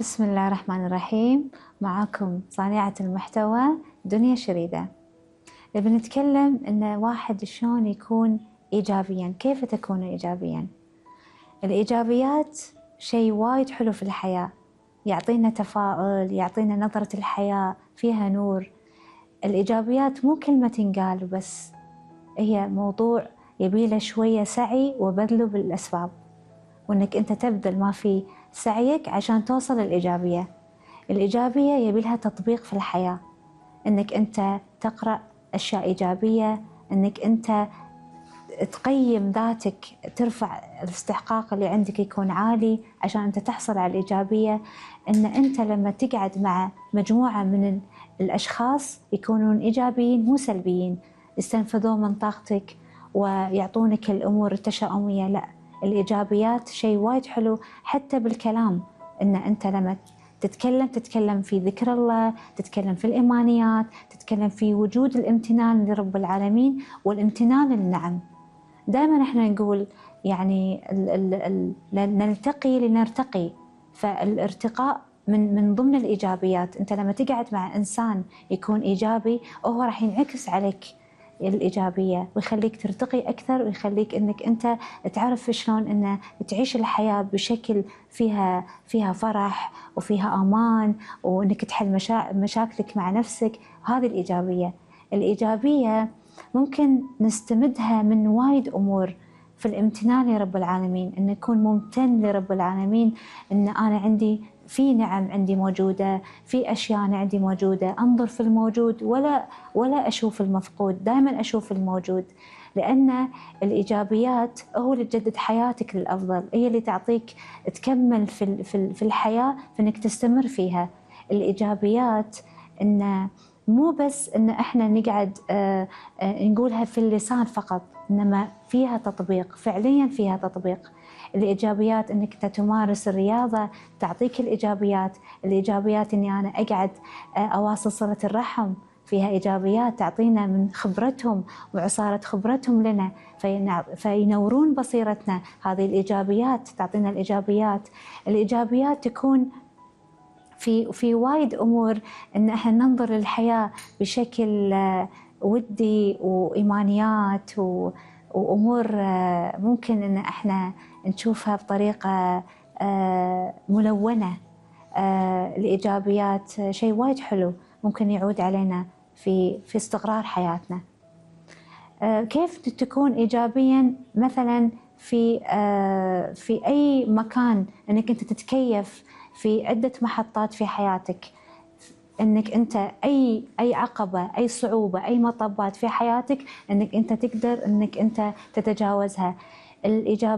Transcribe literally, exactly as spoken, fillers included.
بسم الله الرحمن الرحيم. معاكم صانعة المحتوى دنيا شريدة. بنتكلم إن واحد شلون يكون إيجابيا، كيف تكون إيجابيا؟ الإيجابيات شيء وايد حلو في الحياة، يعطينا تفاؤل، يعطينا نظرة الحياة فيها نور. الإيجابيات مو كلمة تنقال بس، هي موضوع يبيله شوية سعي وبذله بالأسباب، وإنك أنت تبذل ما في سعيك عشان توصل للإيجابية. الإيجابية يبيلها تطبيق في الحياة، إنك أنت تقرأ أشياء إيجابية، إنك أنت تقيم ذاتك، ترفع الاستحقاق اللي عندك يكون عالي عشان أنت تحصل على الإيجابية. إن أنت لما تقعد مع مجموعة من الأشخاص يكونون إيجابيين مو سلبيين، يستنفذون من طاقتك ويعطونك الأمور التشاؤمية، لا، الإيجابيات شيء وايد حلو. حتى بالكلام، إن أنت لما تتكلم تتكلم في ذكر الله، تتكلم في الإيمانيات، تتكلم في وجود الامتنان لرب العالمين والامتنان للنعم. دائما احنا نقول يعني ال ال ال نلتقي لنرتقي، فالارتقاء من من ضمن الإيجابيات. أنت لما تقعد مع إنسان يكون إيجابي، هو راح ينعكس عليك الإيجابية ويخليك ترتقي أكثر، ويخليك إنك أنت تعرف شلون إن تعيش الحياة بشكل فيها فيها فرح وفيها أمان، وإنك تحل مشا... مشاكلك مع نفسك. هذه الإيجابية. الإيجابية ممكن نستمدها من وايد أمور، في الامتنان لرب العالمين، إن أكون ممتن لرب العالمين، إن أنا عندي في نعم عندي موجودة، في أشياء أنا عندي موجودة. أنظر في الموجود ولا ولا أشوف المفقود، دائما أشوف الموجود، لأن الإيجابيات هو اللي تجدد حياتك للأفضل، هي اللي تعطيك تكمل في في في الحياة، في إنك تستمر فيها. الإيجابيات إن مو بس إن إحنا نقعد آآ آآ نقولها في اللسان فقط، إنما فيها تطبيق، فعليا فيها تطبيق. الإيجابيات إنك تمارس الرياضة تعطيك الإيجابيات. الإيجابيات إني أنا أقعد أواصل صلة الرحم، فيها إيجابيات تعطينا من خبرتهم وعصارة خبرتهم لنا، فينورون بصيرتنا. هذه الإيجابيات تعطينا الإيجابيات. الإيجابيات تكون في في وايد أمور، إن إحنا ننظر للحياة بشكل ودي وإيمانيات وأمور ممكن إن إحنا نشوفها بطريقة ملونة. الإيجابيات شيء وايد حلو ممكن يعود علينا في في استقرار حياتنا. كيف تكون إيجابيا؟ مثلا في في أي مكان، إنك أنت تتكيف في عدة محطات في حياتك، إنك أنت أي أي عقبة، أي صعوبة، أي مطبات في حياتك، إنك أنت تقدر إنك أنت تتجاوزها. الإيجابية